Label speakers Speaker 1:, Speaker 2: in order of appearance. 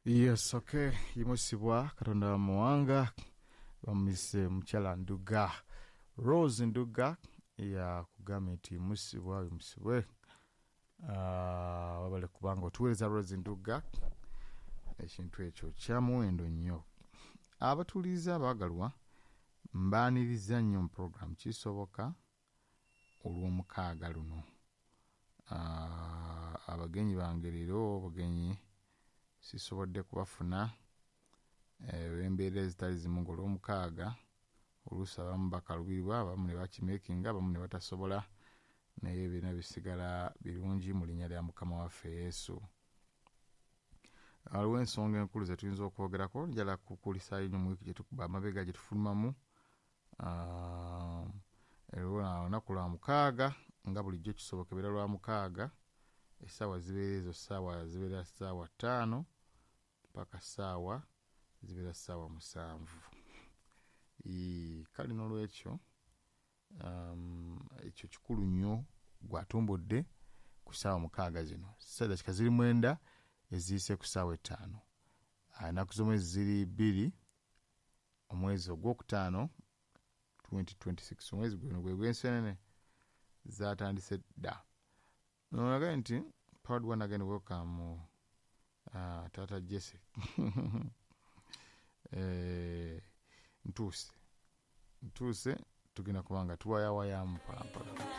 Speaker 1: Yes, okay. Yimusibwa Katonda bamuwanga bamumise mukyala Nduga Rose Nduga yakugambye nti yimusibwa yimusibwe. Wabale kubanga otuweereza Rose Nduga, ekintu ekyo kya muwendo nnyo. Abatuuliriza abaagalwa, mbaaniriza nnyo mu program Kisoboka olw'omukaaga luno. Abagenyi bange leero obugenyi sisobodde kubafuna olw'embeera ezitali zimu, ng'olwomukaaga oluusi abamu bakalubirwa, abamu ne bakimeekinga, abamu ne batasobola, naye byonna bisigala birungi mu linnya lya Mukama waffe Yesu. Waliwo ensonga enkulu ze tuyinza okwogerako. Njala kukulisaayo nnyo mu wiiki gye tukuba amabega gye tufulumamu. Olunaku lwa mukaaga nga bulijjo kisoboka ebeera lwa mukaaga, essaawa zibeera ezo, ssaawa zibeera ssaawa 5 paka ssaawa zibeera ssaawa 7. Kale n'olwekyo ekyo kikulu nnyo gwatumbudde ku ssaawa 6 zino, dakika ziri 9 eziyise ku ssaawa 5. Ennaku z'omwezi ziri 2 omwezi ogwokutaano 2026, omwezi guno gwe gw'ensenene zatandise dda. Nolagaye nti proud one again, welcome Taata Jesse. Ntuuse ntuuse, tugenda kubanga tuwayawayamu mpolampola.